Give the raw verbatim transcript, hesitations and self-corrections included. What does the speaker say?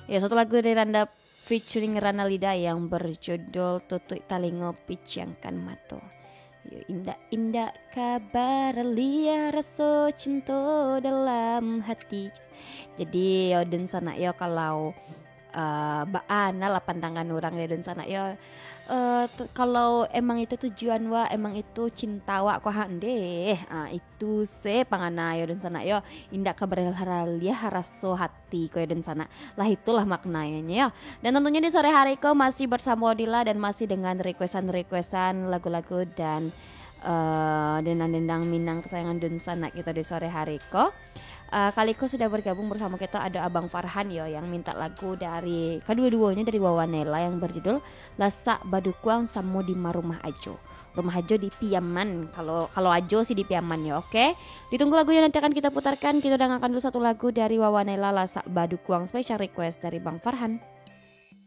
Ya, satu lagu dari Randa featuring Rana Lida yang berjudul Tutuik Talingo Piciangkan Mato. Yo, indak-indak ka baralia raso cinto dalam hati. Jadi yo dunsanak yo, kalau uh, baa lah pandangan urang yo dunsanak yo. Uh, t- kalau emang itu tujuan wak, emang itu cinta wak ko ha ndeh. Ah, itu se pangana yo dunsanak yo. Indak ka baralia raso hati ko yo dunsanak. Lah itulah maknanya yo. Dan tentunya di sore hari ko masih bersama Odila dan masih dengan requestan-requestan lagu-lagu dan uh, dendang-dendang Minang kesayangan dunsanak kito di sore hari ko. Uh, kali ko sudah bergabung bersama kita ada Abang Farhan yo yang minta lagu dari kedua-duanya dari Wawa Nela yang berjudul Lasak Badukuang Samo di Marumah Ajo. Rumah Ajo di Piaman. Kalau kalau Ajo sih di Piaman yo, oke. Ditunggu lagu yang nanti akan kita putarkan. Kita dengarkan dulu satu lagu dari Wawa Nela, Lasak Badukuang, special request dari Bang Farhan.